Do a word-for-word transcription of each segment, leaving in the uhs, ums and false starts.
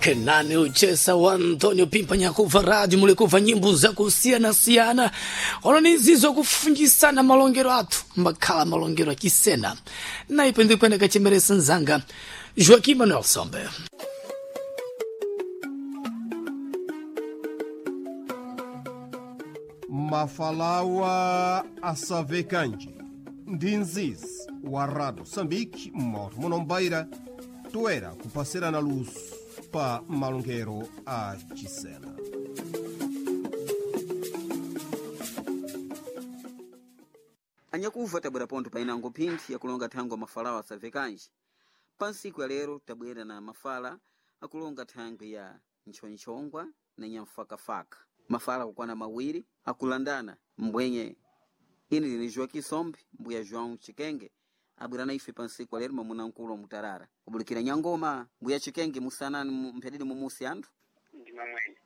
Kenani uchesa wa Antonio Pimpa nyakuva radio mulikuva nyimbo zakusiyana-siyana ono nizizo kufunjisana malongero athu mbakhala malongero achisena naipo ndikwenda kachemeresa nzanga Joaquim Manuel Sombe. Mafalawa asavekanji ndi nzizi wa Rado Sambiki mmoto munombaira toera kupasirana luso pa malongero a chisena. Anyakuva tabwera pontho painango phinthi yakulonga thangwi mafalawo asavekanji pa ntsiku ya lero tabwera na mafala akulonga thangwi ya ntchonchongwa na nyamfakafaka mafala akukwana mawiri akulandana mbwenye ine ndine Joaquim Sombe mbuya João Chikenge abwera na ife pa ntsiku ya lero mwamuna mkulu wa mutarara kubulikira nyangoma mbuya Chikenge musanani mu- mphedidi mumusi anthu ndima mwene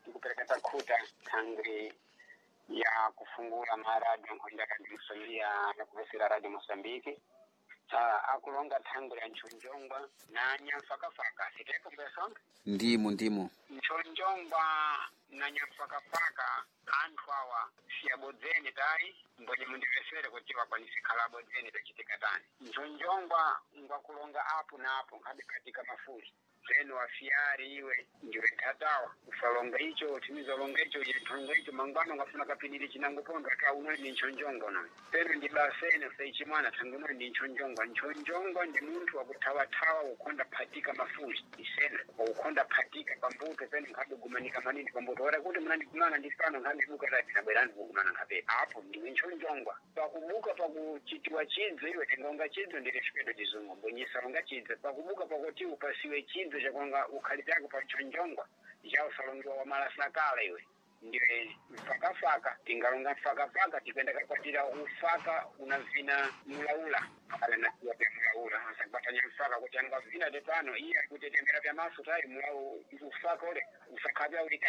ndikupereka takhuta thangwi ya kufungula maradio nkhonda radio Mosambiki ya kupesera radio Mosambiki ah, akulonga thangwi ya ntchonjongwa na nyamfakafaka siteko mbesonga ndimo ndimo ntchonjongwa na nyamfakafaka anthu awa siyabodzeni tayi mbonye mundipesere kuti wakwanise khala abodzeni tachitika tani ntchonjongwa ngwakulonga apo na apo nkhabe katika mafuli zeno wafiyari iwe ndiwe nthatawa usalonga icho timizalonga icho yenthonga icho mangwana ungafuna kapidiri chinango pondo ata uno ndi ntchonjongwa no peno ndi basene usaichimwana thangi uno ndi ntchonjongwa ntchonjongwa ndi munthu wakuthawathawa ukhonda phatika mafuli isena wakukhonda phatika pambuto peno nkhabe gumanika manini pambuto ora kuti munandikumana ndi pano nkhabe buka tati nabwerani kukumana nkhabe apo ndiwe ntchonjongwa pakubuka pakuchitiwa chidzo iwe tingonga chidzo ndili chipeto chizungu mbwenyisa longa chidzo pakubuka pakuti upasiwe chidzo chakwanga ukhali chako pa ntchonjongwa chausalongiwa wa malasakala iwe ndiwe mfakafaka tingalonga mfakafaka tikwenda kakwatira ufaka unavina mulaula akala nasiwa pya mulaula asakwatanya mfaka kuti angavina tepano iye akutetemera pya maso tayi mulau ufaka ule usakhabya uli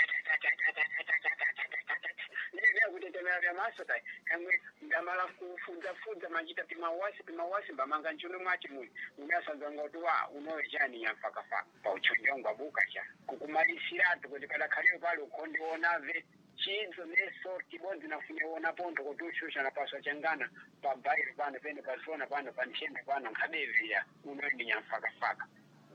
ndine kutetemera pya maso tayi kamwe ndamala kufudzafudza machita pimawasi pimawasi mbamanga nchuno mwachi muli unasanzanga kuti wa unowe chani nyamfakafaka pauchonjongwa buka cha kukumalisiratu kuti padakhaleyo pali ukhondionave chidzo neso tibodzi nafune wona pontho kuti ushusha napaswa changana pabhairo pano pene pasona pano panthembe pano nkhabevira uno ndi nyamfakafaka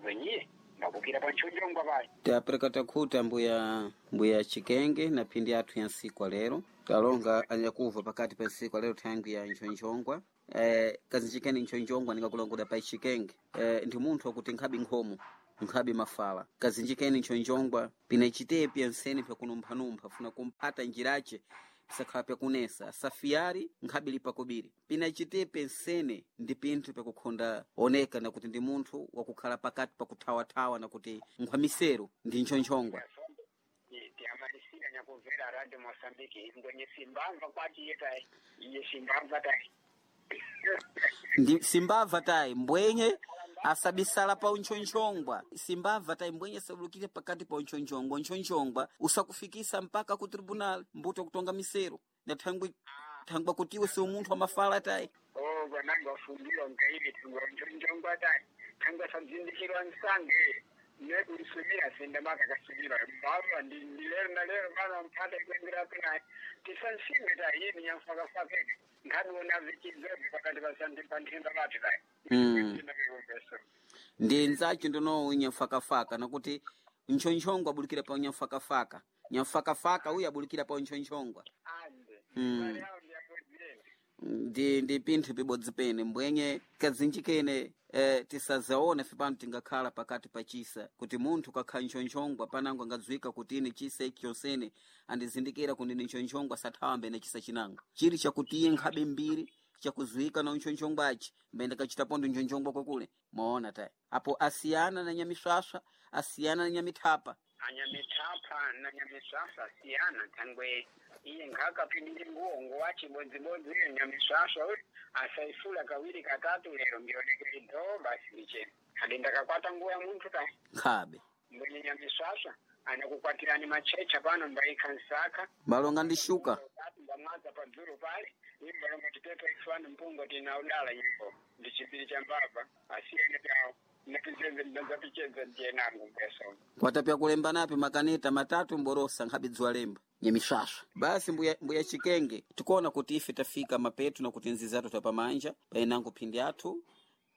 venyiye mbakukira pantchonjongwa pali tapereka takhuta mbuya mbuya Chikenge na phindi athu ya ntsiku ya lero talonga anyakuva pakati pa ntsiku ya lero thangwi ya ntchonchongwa eh, kazinjikeni ntchonchongwa ndingakulongoda pa Chikenge eh, ndi munthu wakuti nkhabi nkhomo nkhabi mafala kazinjikeni ntchonchongwa pina chitepi ansene pyakunumphanumpha funa kumphata njirace pisakhala pyakunesa safiyari nkhabi lipa kobiri pina chitepe nsene ndi pinthu pyakukhonda oneka nakuti ndi munthu wakukhala pakati pakuthawathawa nakuti nkhwamisero ndi ntchonchongwa tiyamalisira nyakumvera radio Mosambiki ngwenye simbamva kwati iye tayi iye simbamva tayi ndi simbava tayi mbwenye asabisala pa unchonchongwa simbava tayi mbwenye asabulukire pakati pa unchonchongwa unchonchongwa usakufikisa mpaka ku tribunal mbuto kutonga misero na thangwi thangwa kutiwe si umunthu wamafala tayi oh vananga wafundiwa nkaili thangwa nchonchongwa tayi thangwa sadzindikirwa nsange nekuisumira sindamaka kasumira mbava ndi ndi lero na lero vana mphata ikwengera pinayi tisansimbe tayi yini nyamfakafakeke nkhabiona vichidzobe pakati pasante panthemba pati tayi Mm. ndi nzacho ndinowo nyamfakafaka nakuti nchonchongwa abulikira pa nyamfakafaka nyamfakafaka uyu abulikira pa nchonchongwa ande Mm. mali awo ndiyapodzeni ndi ndi pinthu pibodzi pene mbwenye kazinji kene eh, tisazaone fe pano tingakhala pakati pa chisa kuti munthu kakhala ntchonchongwa panango angadziwika kuti ine chisa ichi chonsene andizindikira kuti ndine ntchonchongwa sathawa mbene chisa chinango chili chakuti iye nkhabe mbiri chakuziwika na ntchonchongwachi mbene kachitapo ndi ntchonchongwa kwakule mwaona tayi apo asiyana na nyamiswaswa asiyana na nyamithapa anyamithapha na nyamiswaswa siyana thangwe iye nkhakapindire nguwo nguwachibodzibodzi iyo nyamiswaswa uyu asaifula kawiri katatu lero mbionekeri dho basi micheni adi ndakakwata nguwo ya munthu ta nkhabe mbwenye nyamiswaswa anakukwatirani machecha pano mbaikha nsaka mbalonga ndi shuka tatu mbamwaza padzulu pale imbalonga tipepa ifano mpungo tina udala nyimbo ndi chipiri cha mbava asiyene pyawo Nazapicheza ndiye nangu mbuya Sombe. Kwatapya kulemba napi makaneta matatu mborosa nkhabe dziwa lemba nyemiswaswa. Basi mbuya, mbuya Chikenge tikuona kuti ife tafika mapetu na kuti nzizi athu tapamanja painango phindi athu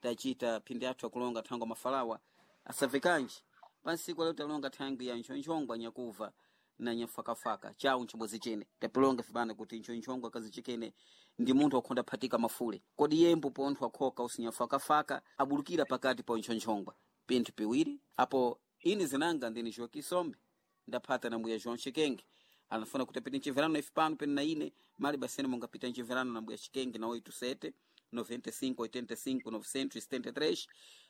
tachita phindi athu akulonga thango mafalawa asavekanji pansiku leo talonga thango ya nchonchongwa nyakuva na nyafakafaka chawu nchimbozi chene tapilonga fibana kuti nchonchongwa kazi chikene ndi munthu wakhonda phatika mafule kodi yembo pontho akhoka usinyafakafaka abulukira pakati pa nchonchongwa pinthu piwiri apo ini zinanga ndini Joaquim Sombe ndaphata na mbuya João Chikenge anafuna kuti apite mchiverano ife pano pene na ine mali basene mungapita mchiverano na mbuya Chikenge na oito sete noventa e cinco oitenta e cinco novecentos e setenta e três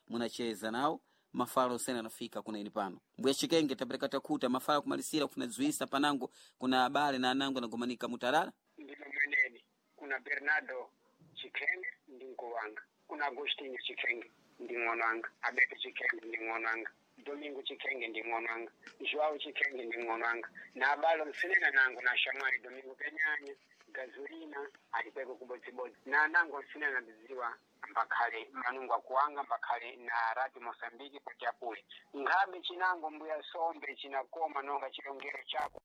munacheza nawo mafala osene anafika kuna ini pano mbuya Chikenge tapereka takhuta mafala kumalisira kufuna dziwisa panango kuna abale na anango anagomanika mutarala Ndimo mweneni kuna Bernardo Chikenge ndi mkulu wanga, kuna Agostinho Chikenge ndi ng'ono wanga, Abeto Chikenge ndi ng'ono wanga, Domingo Chikenge ndi ng'ono wanga, Joao Chikenge ndi ng'ono wanga, na abale nsinena nangu na Shamwali Domingo Penyanya Gazulina alikweko kubodzibodzi na anango nsinena ndidziwa mbakhale manungu akuwanga mbakhale na Radio Mosambiki kuti apule nkhabe chinango mbuya Sombe chinakoma nonga chilongero chako.